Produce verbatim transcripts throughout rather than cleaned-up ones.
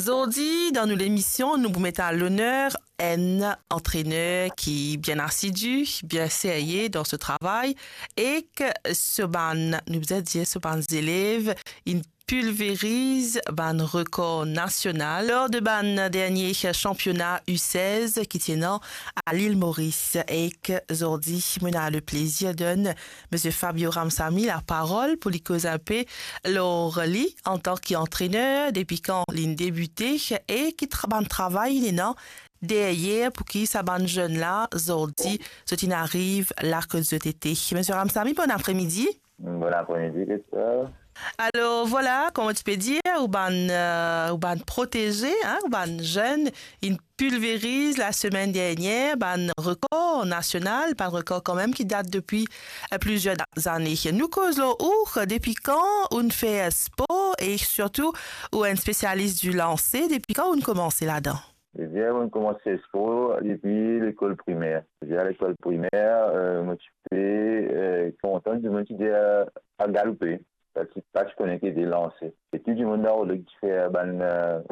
Zordi, dan nou lemision, nou pou met a loner enn antrener ki bien asidi, bien serye dan so travay, ek so bann, nou bizin dir, so bann zelev, inn pilveriz bann rekor nasional lor de bann dernie sanpiona U sez ki ti ena a Lil Moris. Ek zordi, mo ena leplezir donn Misie Fabio Ramsamy laparol pou li koz inpe lor li antan ki antrener, depi kan li'nn debite e ki tra-, bann travay li ena deryer pou ki sa bann zenn la, zordi, zot inn ariv la kot zot ete. Misie Ramsamy, bon apremidi. Bon apremidi, Christelle. Alor, vwala, kouma ti pe dir, ou bann, euh, ou bann proteze, hein, ou bann zenn, inn pilveriz lasemenn dernie bann rekor nasional, bann rekor kanmem ki dat depi, euh, plizier da-, zane. Nou koz lor ou, depi kan ou'nn fer spor e sirtou ou enn spesialis di lanse, depi kan ou'nn koumans ladan? Ebien, mo'nn koumans fer spor depi lekol primer. Depi lekol primer, euh, mo ti pe, euh, kontan, dimoun ti dir, euh, al galoupe. Pa ti, pa ti kone ki ete lanse. E tou dimoun dan rod la ti fer bann, euh,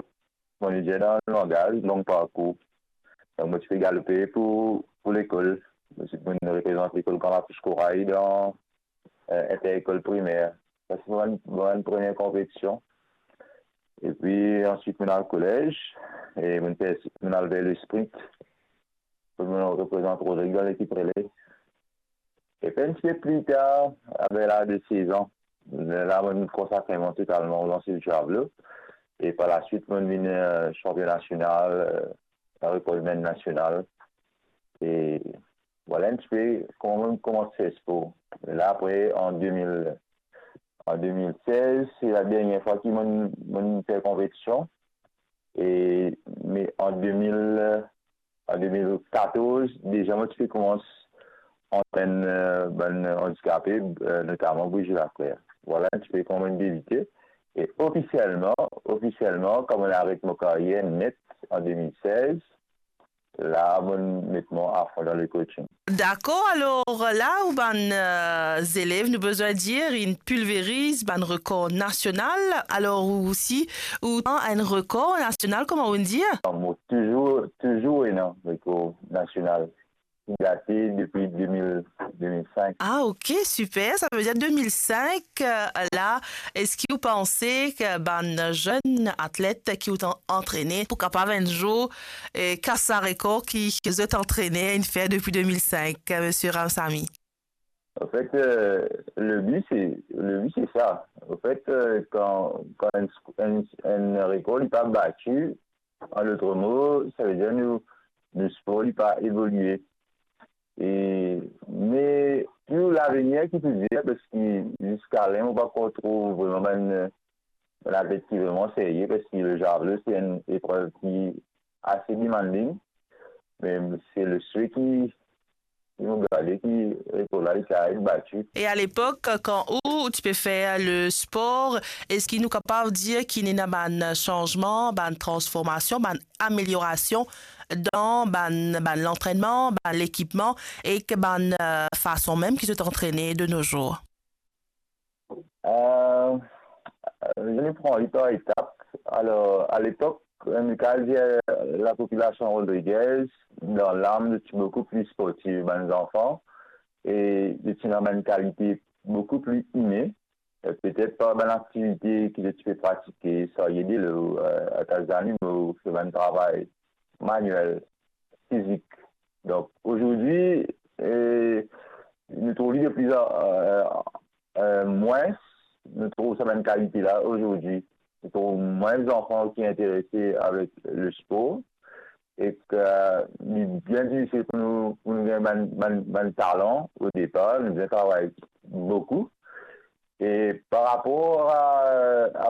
kouma nou dir dan langaz, long parkour. Donk, mo ti pe galoupe pou, pou lekol. Mo ti, mo'nn reprezant lekol Gran Lapous Koray dan, euh, inter-lekol primer. Sa se mo bann, mo bann premie konpetision. Epi answit, mo'nn al kolez, e mo'nn fer, mo'nn al fer le sprint. Mo'nn reprezant Rodrig dan lekip rele. Epi enn tipe pli tar, aver laz de sez an, la mo'nn konsakre mwa totalman o lanse de javlo. E par laswit, mo'nn vinn, euh, sanpion nasional, euh, rekordmenn nasional. E vwala enn tipe kouma mo'nn koumans fer spor. La apre, an de mil, an de mil sez, se la dernie fwa ki mo'nn, mo'nn fer konpetision. E, me an de mil, an de mil katorz, deza mo ti pe koumans antrenn, euh, bann andikape, euh, notaman Brigitte Lafrère. Vwala enn tipe kouma mo'nn debite. E ofisielman, ofisielman, kan mo'nn aret mo karyer net an de mil sez, la mo'nn met mwa afon dan le coaching. Dakor, alor la ou bann, euh, zelev, nou bizin dir, inn pilveriz bann rekor nasional, alor ou osi, ou tann enn rekor nasional, kouma ou dir? Non, mo touzour, touzour ena rekor nasional. Li date depi de mil, de mil senk. Ah, ok, super. Sa ve dir de mil senk, euh, la, eski ou panse ki bann zenn atlet ki ou tann antrene pou kapav enn zour, euh, kas sa rekor ki, ki zot antrener inn fer depi de mil senk, euh, Misie Ramsamy? Anfet, euh, le bi, se, le bi, se sa. Anfet, euh, kan, kan enn, enn, enn rekor li pa bati, an lot mo, sa ve dir nou, nou spor li pa evolie. E, me pou lavenir, ki pou dir, paski ziska la, mo pa ankor trouv vreman bann, bann atlet ki vreman serye, paski le javlo, se enn eprev ki ase demanding, me se le swe ki, ki mo gade ki rekor la, li kapav bati. E a lepok, kan ou, ou ti pe fer le spor, eski nou kapav dir ki ena bann sanzman, bann transformasion, bann ameliorasion dan bann, bann lantrennman, bann lekipman ek bann, euh, fason mem ki zot antrene de nos jours? Euh, nou pran li par etap. Alor, a lepok, nou kapav dir, euh, lapopilasion Rodriguez, dan lam, zot ti boukou pli sportif, bann zanfan, e zot ti ena bann kalite boukou pli ine, euh, petet par bann aktivite ki zot ti pe pratike, sarye delo, euh, atas zanimo, fer bann travay maniel, fizik. Donk, ozordi, euh, nou trouv li de pli an, euh, euh, mwins, nou trouv sa bann kalite la ozordi. Nou trouv mwins zanfan ki interese avek le spor, ek li bien difisil pou nou, pou nou gagn bann, bann, bann talan o depar. Nou bizin travay boukou. E par rapor a, a